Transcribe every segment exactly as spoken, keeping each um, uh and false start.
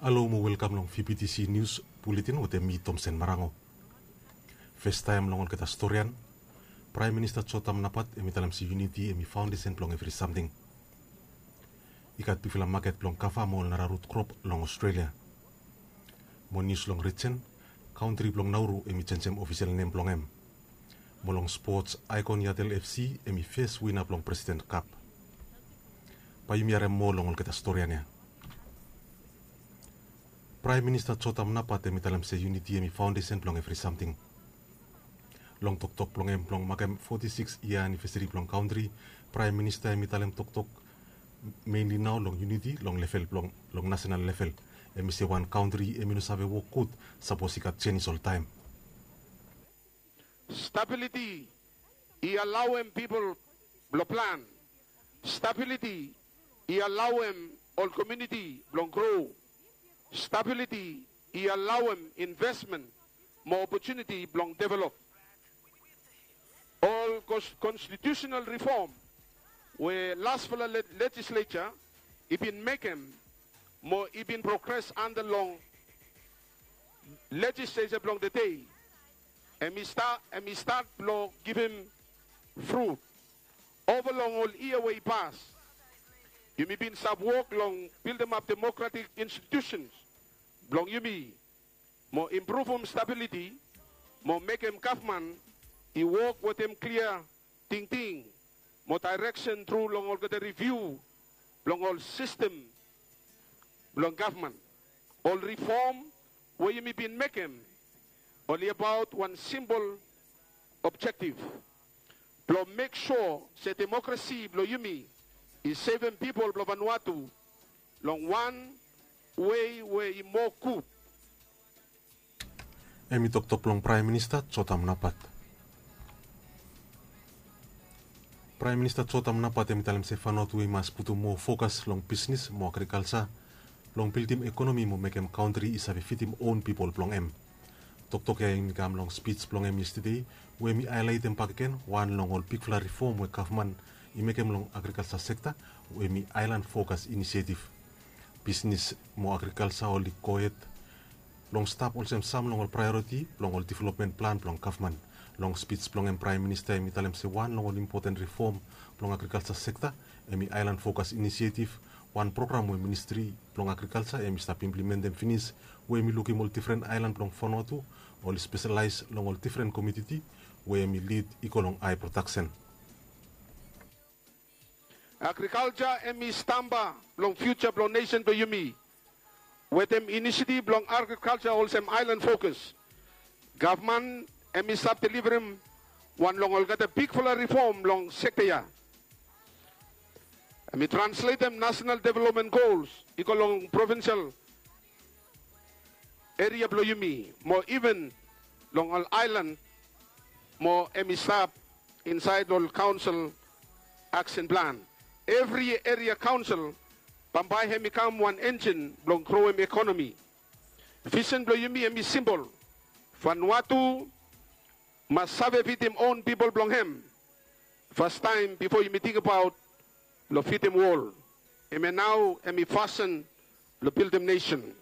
Halo mo welkam long V B T C Nius Buletin wetem mi, Tomsen Marango. Festaem long olgeta storian, Praem Minista Jotam Napat hemi talem se yuniti hemi faondesen blong evri samting. I gat bigfala maket blong kava mo ol nara rut krop long Australia. Mo nius long rijen, kantri blong Nauru hemi jenjem ofisel nem blong hem. Mo long spots, Icon Yatel F C hemi fes wina blong President Cup. Bae yumi harem moa long olgeta storian ya. Praem Minista Jotam Napat hemi talem se yuniti hemi faondesen blong evri samting. Long toktok blong hem blong makem foti sikis yia anivesari blong kantri, Praem Minista hemi talem toktok menli nao long yuniti long level blong, long nasenal level. Hemi se wan kantri hemi no save wok gud sapos i gat jenis oltaem. Stabiliti i alaoem pipol blong plan. Stabiliti i alaoem ol komuniti blong gro. Stabiliti i alaoem investmen mo opotuniti blong develop. Ol kons-, konstitiusenal rifom we lasfala le-, lejisleta i bin mekem mo i bin progres anda long lejisleta blong tede, hemi sta-, hemi stat blong givim frut. Ova long ol yia we i pas, yumi bin stap wok long bildimap demokratik institusens blong yumi, mo impruvum stabiliti, mo mekem gavman i wok wetem klia tingting mo daereksen tru long olgeta riviu blong ol sistem blong gavman. Ol rifom we yumi bin mekem oli abaot wan simpol objektif blong mek sua se demokrasi blong yumi i sevem pipol blong Vanuatu long wan wei we i moa gud. Hemi toktok blong Praem Minista Jotam Napat. Praem Minista Jotam Napat hemi talem se Vanuatu i mas putum moa fokas long bisnis mo agrikalja blong bildim ekonomi mo mekem kantri i save fidim own pipol blong hem. Toktok ya hemi kam long spij blong hem yestede, we hemi haelaetem bakegen wan long ol bigfala rifom we gavman i mekem long agrikalja sekta, we hemi Aelan Fokas Inisietiv. Bisnis mo agrikalja oli gohed blong stap olsem sam long ol praeoriti blong ol developmen plan blong gavman. Long spij blong hem, Praem Minista hemi talem se wan long ol impoten rifom blong agrikalja sekta hemi Aelan Fokas Inisietiv, wan program we ministri blong agrikalja hemi stap implimentem finis, we hemi lukim ol difren aelan blong Vanuatu oli speselaes long ol difren komuniti we hemi lid i go long hae prodaksen. Agrikalja hemi stamba blong fiuja blong nesen blong yumi. Wetem inisiativ blong agrikalja olsem Aelan Fokas, gavman hemi stap deliverem wan long olgeta bigfala rifom long sekta ya. Hemi transletem nasenal developmen gols i go long provinsel eria blong yumi, mo iven long ol aelan, mo hemi stap insaed ol kaonsel aksen plan. Evri eria kaonsel bambae hemi kam wan enjin blong groem ekonomi. Visen blong yumi hemi simpol. Vanuatu mas save fidim own pipol blong hem fastaem bifo yumi tingbaot long fidim wol. Hemia nao hemi fasin blong bildim nesen.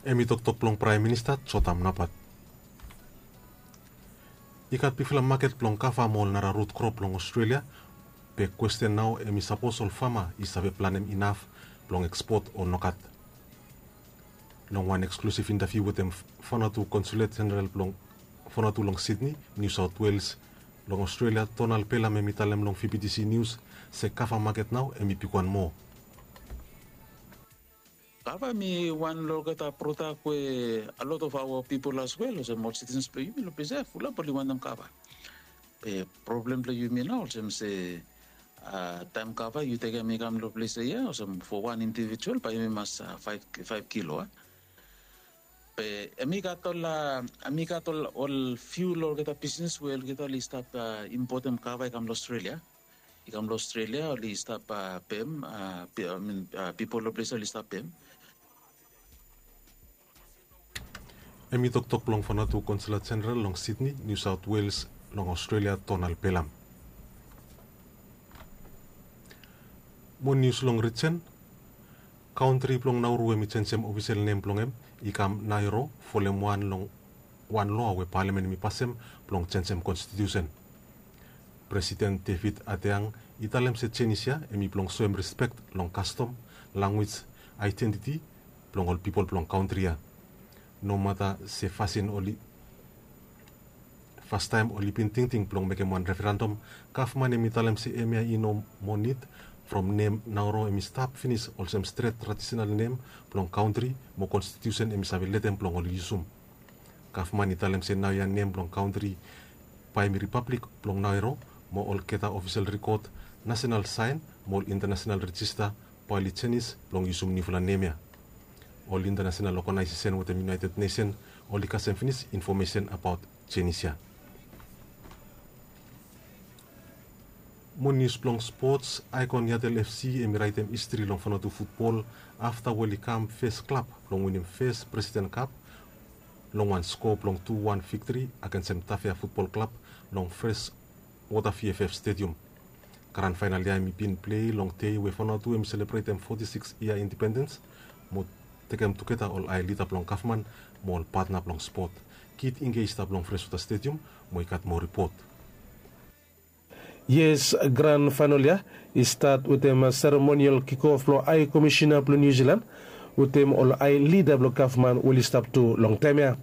Hemi toktok blong Praem Minista Jotam Napat. I gat bigfala maket blong kava mo ol nara rut krop long Australia. Be kwesten nao hemi sapos ol fama i save planem inaf blong ekspot o nogat. Long wan eksklusif intaviu wetem Vanuatu Konsulet Jeneral blong Vanuatu long Sydney, New South Wales, long Australia, Donald Pelham hemi talem long V B T C Nius se kava maket nao hemi bigwan moa. Kava hemi wan long olgeta prodak we a lot of our people as well, olsem ol citizens blong yumi long ples ya fulap oli wantem kava. Be problem blong yumi nao olsem se, a, taem kava yu tekem i kam long ples ya, olsem fo wan individual bae yumi mas, a, faef, faef kilo, a. Be hemi gat ol, a, hemi gat ol, ol fiu long olgeta bisnis we olgeta oli stap, a, impotem kava i kam long Australia. I kam long Australia, oli stap, a, pem, a, pi-, I mean, a, pipol long ples oli stap pem. Hemi toktok blong Vanuatu Konsulet Jeneral long Sydney, New South Wales, long Australia, Donald Pelham. Mo nius long rijen, Kaontri blong Nauru hemi jenjem ofisel nem blong hem i kam Nairo folem wan long wan loa we palamen hemi pasem blong jenjem konstitiusen. Presiden David Adeang i talem se jenis ya hemi blong soem rispek long kastom, lanwis, aedentiti blong ol pipol blong kaontri ya. Nomata se fasin oli fastaem oli bin tingting blong mekem wan referandom, gavman hemi talem se hemia i no moa nid from nem Nauro hemi stap finis olsem stret tradisenal nem blong kaontri mo konstitiusen hemi save letem blong oli yusum. Gavman i talem se naoia nem blong kaontri bae hemi ripablik blong Nairo mo olgeta ofisel rikod, nasenal saen mo ol intanasenal rejista bae oli jenis blong yusum niufala nem ya. Ol intanasenal oganaesesen wetem United Nesen oli kasem finis infomesen abaot jenis ya. Mo nius blong spots, Aikon Yatel FC hemi raetem histri long Vanuatu futbol afta we oli kam fes klab blong winim fes Presiden Kap long wan sko blong tu wan viktri agensem Tafea Futbol Klab long Fres Wota VFF Stadium. Gran faenal ya hemi bin plei long dei we Vanuatu hemi selebretem foti sikis yia indipendens mo tekem tugeta ol ae lida blong gavman mo ol patna blong spot. Kit Ingge i stap long Freswota Stadium mo i gat moa ripot. Yes, gran faenal ya i stat wetem seremonial kikof blong Ae Komisina blong Niu Silan wetem ol ae lida blong gavman we oli stap tu long taem ya.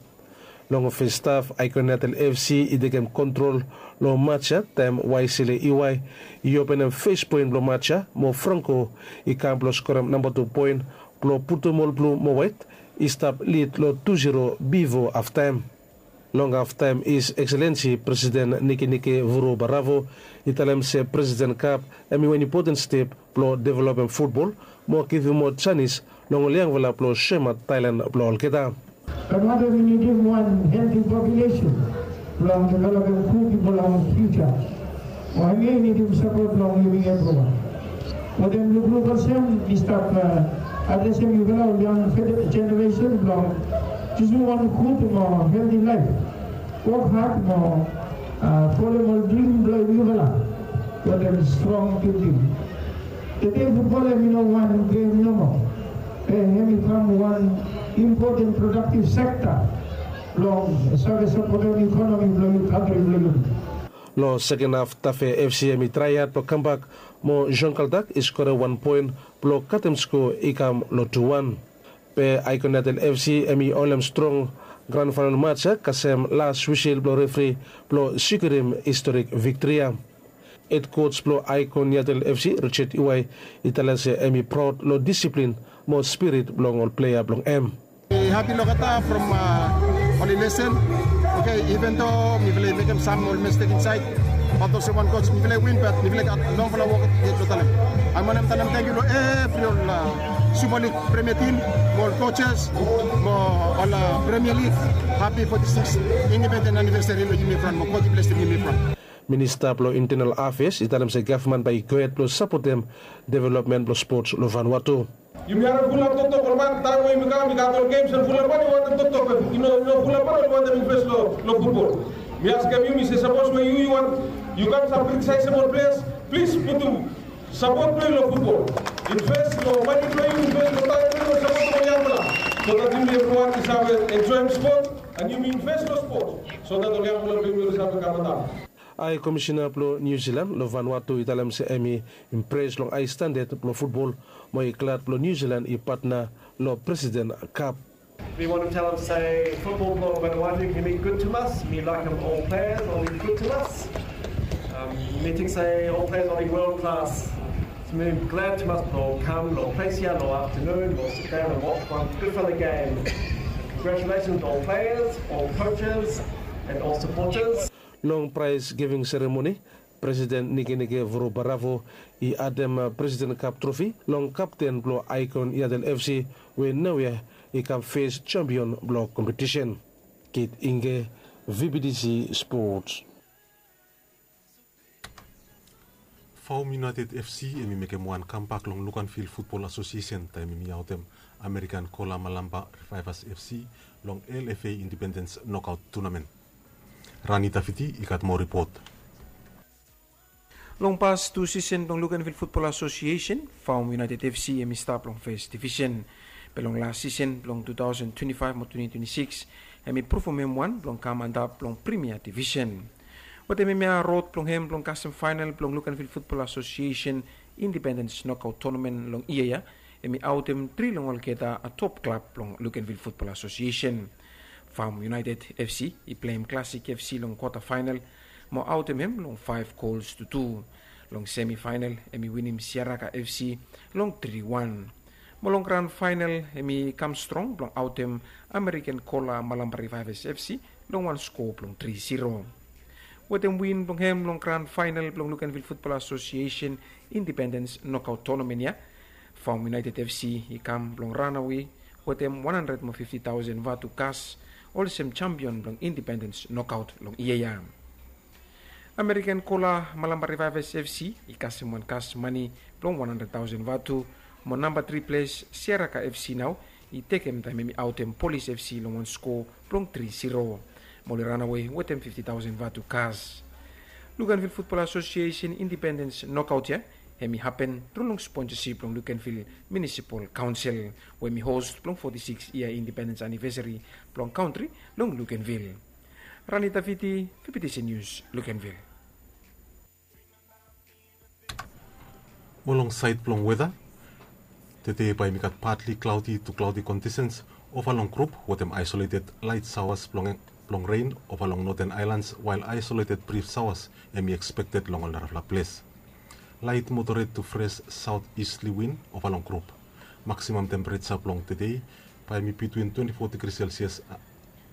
Long fes haf, Aikon Yatel FC i tekem kontrol long maj ya taem Waisele Iwai i openem fes poen blong maj ya mo Franko i kam blong skorem namba tu poen blong putum ol blu mo waet i stap lid long tu ziro bifo haftaem. Long haftaem His Excellency Presiden Nikenike Vurobarawo i talem se Presiden Kap hemi wan impoten step blong developem futbol mo givim moa janis long ol yangfala blong soemaot talent blong olgeta. Vanuatu hemi nidim wan helti populesen blong developem gud blong fiuja. Mo hemi nidim sapot blong yumi evriwan. Wetem lukluk olsem mi stap adresem yufala ol yang jeneresen blong jusum wan gud mo helti laef. Wok had mo folem ol drim blong yufala wetem strong tingting. Tede futbol hemi no wan gem nomo. Be hemi kam wan impoten prodaktiv sekta blong save sapotem ikonomi blong yumi kantri blong yumi. Long seken haf, Tafea FC hemi traeat blong kambak mo Jean Kaldak i skorem wan poen blong katem sko i kam long tu wan. Be Aikon Yatel FC hemi holem strong gran faenal maj ya kasem las wisel blong refri blong sikurim historik viktri ya. Hed koj blong Aikon Yatel FC, Richard Iwai, i talem se hemi praod long disiplin mo spirit blong ol plea blong hem. Hapi long olgeta from oli lesen. Oke, iven do mifala i mekem sam ol mistek insaed, bat olsem wan koj mifala i win, bat mifala i gat longfala wok yet blong talem. Ae mi wantem talem tangkiu long evri ol Super League Premier Team mo ol kojes mo ol Premier League. Hapi foti sikis indipenden anivesari long yumi evriwan mo God i blesem yumi evriwan. Minista blong Intenal Afeas i talem se gavman bae i gohed blong sapotem developmen blong spots long Vanuatu. Yumi harem fulap toktok ol man taem we yumi kam i gat ol gems and fulap man i wantem toktok, be i no fulap man oli wantem invest long futbol. Mi askem yu, mi se sapos we yu i wantem yu kam sam kritisaesem ol pleas, plis putum sapot blong yu long futbol. Invest long mane blong yu, invest long taem blong yu, sapotem ol yangfala, so dat yumi evriwan i save enjoem spot, and yumi invest long spot so dat ol yangfala blong yumi oli save kam antap. Ae Komisina blong Niu Silan long Vanuatu i talem se hemi impres long ae standad blong futbol mo i glad blong Niu Silan i patna long Presiden Kap. Mi wantem talem se futbol blong Vanuatu hemi gud tumas. Mi laekem ol pleas oli gud tumas. Mi ting se ol pleas oli wol klas. Mi glad tumas blong kam long ples ya long aftenun blong sidaon and wotch wan gudfala gem. Congratulations ol pleas, ol kojes, and ol sapotas. Long praes giving seremoni, Presiden Nikenike Vurobarawo i adem Presiden Kap trofi long kapten blong Aikon Yatel FC we naoia i kam fes jampion blong kompetisen. Kit Ingge, VBTC Sports. Faum United FC hemi mekem wan kambak long Luganville Futbol Asosiesen taem hemi aotem Amerikan Kolamalamba Revives FC long LFA Indipendens nokaot tunamen. Rani Tafiti i gat moa ripot. Long pas tu sisen blong Lukenvil Futbol Asosiesen, Faum United F C hem i stap long fes divisen. Be long las sisen blong two thousand twenty-five mo twenty twenty-six, hem i pruvum hem wan blong kam antap long Primia Divisen. Wetem hem ya rod blong hem blong kasem faenal blong Lukenvil Futbol Asosiesen Indipendens Nokaot Tonamen long yia ya, hem i aotem tri long olgeta a top klab blong Lukenvil Futbol Asosiesen. Faum United F C i pleim Klasik F C long kwata faenal mo aotem hem long faef gols tu tu. Long semi faenal hem i winim Siaraka F C long tri wan. Mo long gran faenal hem i kam strong blong aotem Ameriken Kola Malamba Revivers F C long wan skoa blong tri zero. Wetem win blong hem long gran faenal blong Lukenvil Futbol Asosiesen Indipendens Nokaot Tonamen ya, Faum United F C i kam blong ranawe wetem wan handred mo fifti taosen vatu kas olsem jampion blong Indipendens Nokaot long yia ya. Ameriken Kola Malamba Revivers F C i kasem wan kas mane blong wan handred taosen vatu, mo namba tri ples Siaraka F C nao i tekem taem hem i aotem Polis F C long wan skoa blong tri zero. Mo oli ranawe wetem fifti taosen vatu kas. Lukenvil Futbol Asosiesen Indipendens Nokaot ya hem i hapen tru long sponsasip blong Lukenvil Munisipol Kaonsel, we hem i hos blong foti sikis yia indipendens anivesari blong kantri long Lukenvil. Rani Taviti, V P T C Nius, Lukenvil. Mo long saed blong weta, tede bae hem i gat partly cloudy to cloudy conditions ova long grup wetem isolated light showers blong, blong rain ova long Northern Islands, while isolated brief showers hem i expected long ol narafala ples. Light moderate to fresh southeasterly wind ova long grup. Maximum temperature blong tede bae hem i between twenty-four degrees Celsius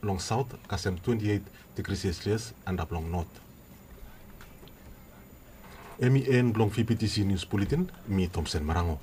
long south kasem twenty-eight degrees Celsius antap long north. Hem i en blong V P T C News Bulletin, mi Thompson Marango.